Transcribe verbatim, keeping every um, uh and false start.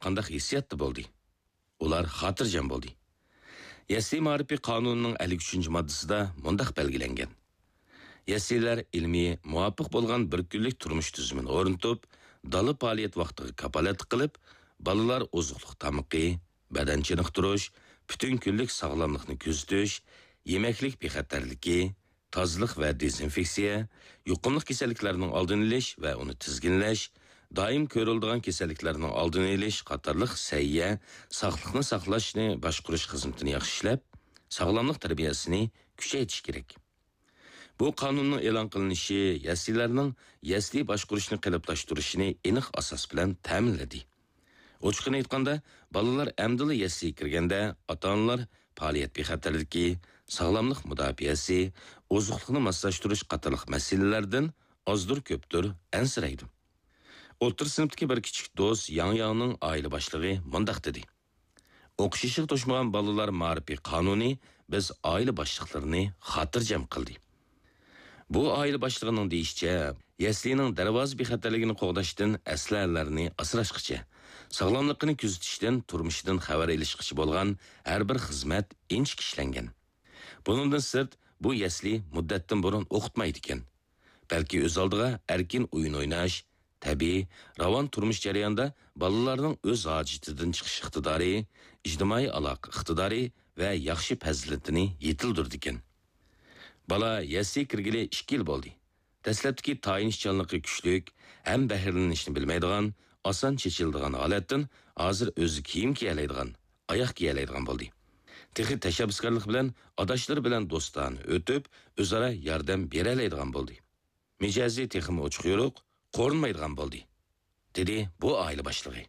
قانداق ھېسسىياتتا بولدى؟ ئۇلار خاتىرجەم بولدى. يەسلى مائارىپى قانۇنىنىڭ ئەللىك ئۈچىنچى ماددىسىدا مۇنداق بەلگىلەنگەن: يەسلىلەر ئىلمىي مۇۋاپىق بولغان بىر كۈنلۈك تۇرمۇش تۈزۈمىنى ئورنىتىپ، دالا پائالىيەت ۋاقتىغا كاپالەتلىك قىلىپ، بالىلار ئوزۇقلۇق تامىقى، بەدەن چېنىقتۇرۇش، پۈتۈن كۈنلۈك ساغلاملىقنى كۆزىتىش، يېمەكلىك بىخەتەرلىكى، تازىلىق ۋە دېزىنفېكسىيە، يۇقۇملۇق كېسەللىكلەرنىڭ ئالدىنى ئېلىش ۋە ئۇنى تىزگىنلەش، دائىم كۆرۈلىدىغان كېسەللىكلەرنىڭ ئالدىنى ئېلىش قاتارلىق سەھىيە، ساقلىقنى ساقلاشنى باشقۇرۇش خىزمىتىنى ياخشى ئىشلەپ، ساغلاملىق تەربىيەسىنى كۈچەيتىش كېرەك. بۇ قانۇننىڭ ئېلان قىلىنىشى يەسلىلەرنىڭ يەسلى باشقۇرۇشنى قېلىپلاشتۇرۇشىنى ئېنىق ئاساس بىلەن تەمىنلىدى. ئوچۇقىنى ئېيتقاندا، بالىلار ئەمدىلا يەسلىگە كىرگەندە، ئاتا-ئانىلار پائالىيەت بىخەتەرلىكى، ساغلاملىق مۇداپىئەسى، ئوزۇقلۇقنى ماسلاشتۇرۇش قاتارلىق مەسىلىلەردىن ئازدۇر-كۆپتۇر ئەنسىرەيدۇ. ئوتتۇرا سىنىپتىكى بىر كىچىك دوست ياڭ ياڭنىڭ ئائىلە باشلىقى مۇنداق دېدى: ئوقۇش يېشىغا توشمىغان بالىلار مائارىپى قانۇنى بىز ئائىلە باشلىقلىرىنى خاتىرجەم قىلدى. بۇ ئائىلە باشلىقىنىڭ دېيىشىچە، يەسلىنىڭ دەرۋازا بىخەتەرلىكىنى قوغداشتىن ئەسلىھەلەرنى ئاسراشقىچە، ساغلاملىقىنى كۆزىتىشتىن تۇرمۇشىدىن خەۋەر ئېلىشقىچە بولغان ھەر بىر خىزمەت ئىنچىكە ئىشلەنگەن. بۇنىڭدىن سىرت، بۇ يەسلى مۇددەتتىن بۇرۇن ئوقۇتمايدىكەن. بەلكى ئۆز ئالدىغا ئەركىن ئويۇن ئويناش، تەبىئىي، راۋان تۇرمۇش جەريانىدا بالىلارنىڭ ئۆز ھاجىتىدىن چىقىش ئىقتىدارى، ئىجتىمائىي ئالاقە ئىقتىدارى ۋە ياخشى پەزىلىتىنى يېتىلدۈرىدىكەن. بالا يەسلىگە كىرگىلى ئىككى يىل بولدى. دەسلەپتىكى تايىنىشچانلىقى كۈچلۈك، ھەم بەھرىلىنىشنى بىلمەيدىغان، ئاسان چېچىلىدىغان ھالەتتىن ھازىر ئۆزى كىيىم كىيەلەيدىغان، ئاياغ كىيەلەيدىغان بولدى. تېخى تەشەببۇسكارلىق بىلەن ئاداشلىرى بىلەن دوستانە ئۆتۈپ، ئۆزئارا ياردەم بېرەلەيدىغان بولدى. مىجەزى تېخىمۇ ئوچۇق-يورۇق، قورۇنمايدىغان بولدى، دېدى بۇ ئائىلە باشلىقى.